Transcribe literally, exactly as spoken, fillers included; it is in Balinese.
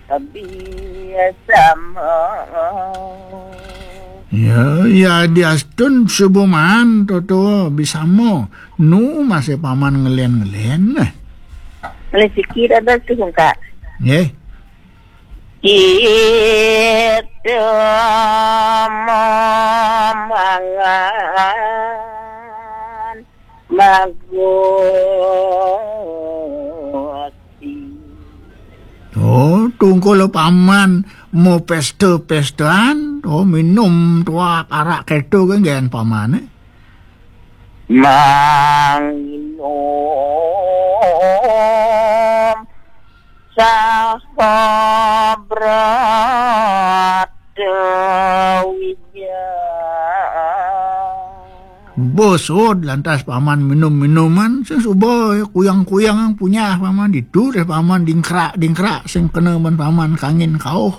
Biasa. Ya, ya, diastun subuh maan, Toto, bisamo. Nu masih paman ngelen-ngelen, nah. Rezeki ada tu, Kak. Nggih. Kita mangan maguti. Oh, tungkul paman mau pesta-pestaan, oh, minum tuak arak keto kan gen paman, eh? Manginum sahabrat wija. Bosod lantas paman minum-minuman, sing suba kuyang-kuyang punya paman ditu deh paman dingkrak-dingkrak sing kena ban paman kangin kauh.